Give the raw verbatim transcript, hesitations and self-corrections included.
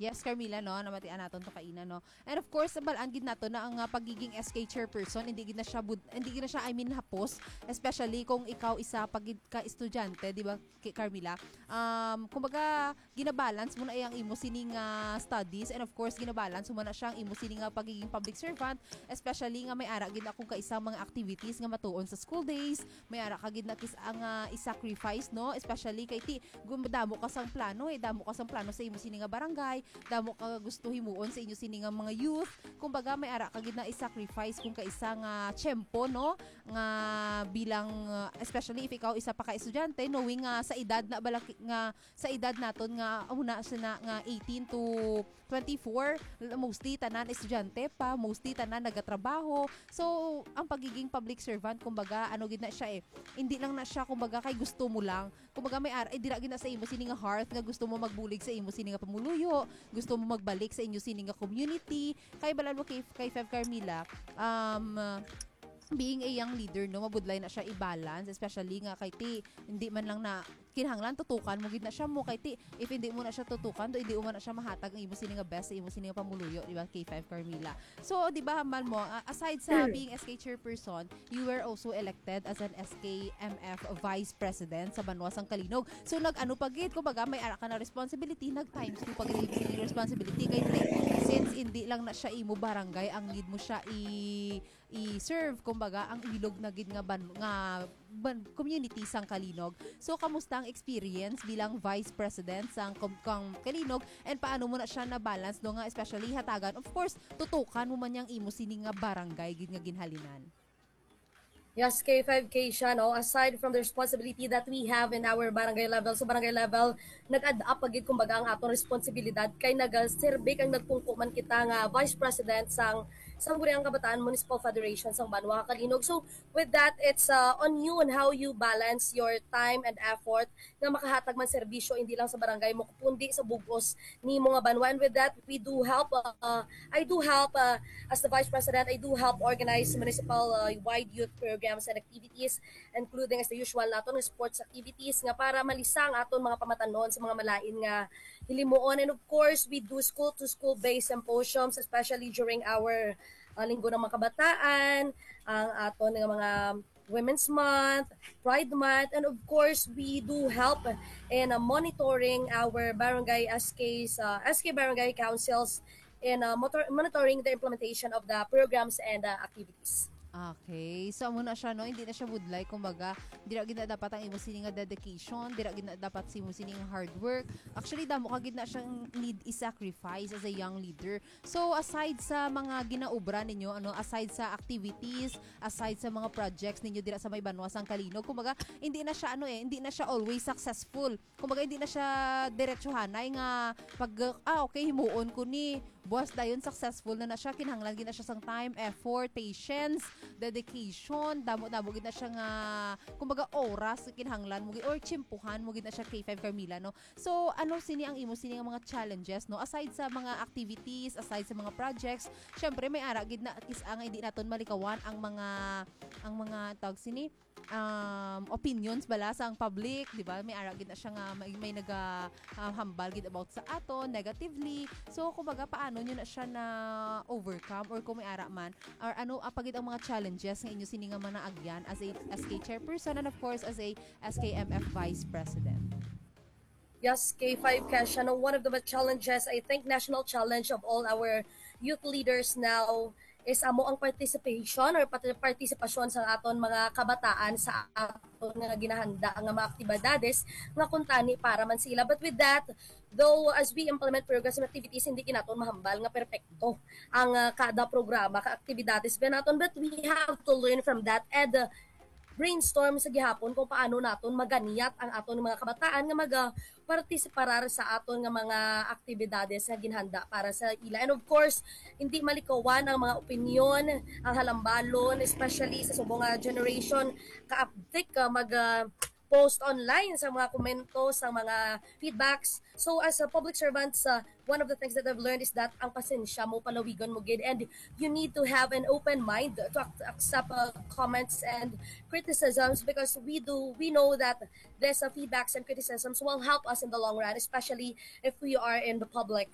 Yes, Carmila, no, namatian naton to kaina, no. And of course, balaan gid nato na ang, ah, pagiging S K chairperson, hindi gid na siya bud-, hindi gid na siya, I mean, hapos, especially kung ikaw isa pa gid ka estudyante, di ba, Ki-, Carmila? Um, kumbaga, ginabalance mo na ang imo sining, ah, studies, and of course, ginabalance mo na siya ang imo sining, ah, pagiging public servant, especially nga may ara gid akong kaisang mga activities nga matuon sa school days, may ara ka gid na kis-, ang, ah, i-sacrifice, no? Especially kay ti, gum-, damo ka sang plano, eh, damo ka sang plano sa imo sini nga barangay, damo ka gusto himuon sa inyo sini nga mga youth. Kumbaga, may ara ka gid na i-sacrifice kung kaisa nga tiyempo, no? Nga bilang, ah, especially if ikaw isa pa ka estudyante, knowing nga sa edad na bala ki-, nga sa edad naton nga una sina nga eighteen to twenty-four, l-, mostly tanan estudyante pa, mostly tanan nagatrabaho. So, ang pagiging public servant, kumbaga, ano gid na siya eh, hindi lang na siya, kumbaga, kay gusto mo lang. Kumbaga, may ar-, eh, dira gid na sa imo sini nga heart nga gusto mo magbulig sa imo sini nga pamuluyo, gusto mo magbalik sa inyo sini nga community. Kay balalo kay, kay Fev Carmila, um, being a young leader, no, mabudlay na siya i-balance, especially nga kay ti, hindi man lang na kinahanglan tutukan mo gid na siya mo kay ti, if hindi mo na siya tutukan, do hindi mo man na siya mahatag ang imo sini nga best sa imo sini nga pamuluyo, di ba, K five Carmila? So, di ba, hambal mo, ah, aside sa being S K chairperson, you were also elected as an S K M F vice president sa Banwa sang Kalinog. So, nag-ano pa gid, kumbaga, may ara ka na responsibility, nag times two pa gid ang responsibility kay ti, since hindi lang na siya imo barangay, ang need mo siya i i-serve, kumbaga, ang ilog na gid nga ban-, nga ban-, community sang Kalinog. So, kamusta ang experience bilang vice president sang kom-, kang Kalinog, and paano mo na siya na-balance, no, nga especially hatagan, of course, tutukan mo man yang imo sini nga barangay gid nga ginhalinan? Yes, K five K siya, no? Aside from the responsibility that we have in our barangay level, sa barangay level, nag-add up pa gid, kumbaga, ang atong responsibilidad kay nagaserbi kag nagpungko man kita nga vice president sang Sangguniang Kabataan Municipal Federation sang Banwa Kalinog. So, with that, it's, uh, on you on how you balance your time and effort nga makahatag man serbisyo hindi lang sa barangay mo, kundi sa bug-os nimo nga banwa. And with that, we do help, uh, I do help, uh, as the vice president, I do help organize municipal, uh, wide youth programs and activities, including as the usual naton nga sports activities nga para malisa ang aton mga pamatanon sa mga malain nga hilimuon. And of course, we do school-to-school based symposiums, especially during our, uh, Linggo ng mga Kabataan, ang aton nga mga Women's Month, Pride Month, and of course, we do help in, uh, monitoring our barangay S Ks, uh, S K barangay councils in, uh, motor-, monitoring the implementation of the programs and, uh, activities. Okay. So, amo na siya, no? Hindi na siya budlay. Kumbaga, dira gid na dapat ang imo sini nga dedication, dira gid na dapat si imo sini nga hard work. Actually, damo ka gid na siyang need i-sacrifice as a young leader. So, aside sa mga ginaobra ninyo, ano, aside sa activities, aside sa mga projects ninyo dira sa may banwa sang Kalinog, kumbaga, hindi na siya, ano eh, hindi na siya always successful. Kumbaga, hindi na siya diretsuhanay nga pag, ah, okay, himuon ko ni, buwas dayon successful na na siya, kinahanglan gid na siya sang time, effort, patience, dedication, damo-damo gid na siya nga, kumbaga, oras nga kinahanglan mo gid, or tsimpuhan mo gid na siya, K five Carmila, no? So, ano sini ang imo sini nga mga challenges, no? Aside sa mga activities, aside sa mga projects, syempre, may ara gid na kis-, ang hindi naton malikawan ang mga, ang mga tawag sini, um, opinions bala sang public, di ba? May ara gid na siya nga may, may naga, ah, hambal gid about sa ato negatively. So, kumbaga, paano nyo na siya na overcome, or kung may ara man, or ano, ah, pa gid ang mga challenges nga inyo sini nga mga naagyan as a S K chairperson and, of course, as a S K M F vice president? Yes, K five Kesha, no, one of the challenges, I think, national challenge of all our youth leaders now is amo ang participation or pati-, partisipasyon sa aton mga kabataan sa aton nga ginahanda nga mga aktibidades nga kuntani para man sila. But with that, though, as we implement programs and activities, hindi gid naton mahambal nga perpekto ang, ah, kada programa ka aktibidades ba naton, but we have to learn from that and, ah, brainstorm sa gihapon kung paano naton maganiyat ang aton mga kabataan nga maga-, partisiparar sa aton nga mga aktibidades nga ginhanda para sa ila. And of course, hindi malikawan ang mga opinyon, ang halambalon, especially sa subong nga generation, kaabtik, ah, mag, ah, post online sa mga komento, sa mga feedbacks. So, as a public servant, sa one of the things that I've learned is that ang pasensya mo, palawigon mo gid, and you need to have an open mind to ac-, accept, uh, comments and criticisms, because we do, we know that these, uh, feedbacks and criticisms will help us in the long run, especially if we are in the public's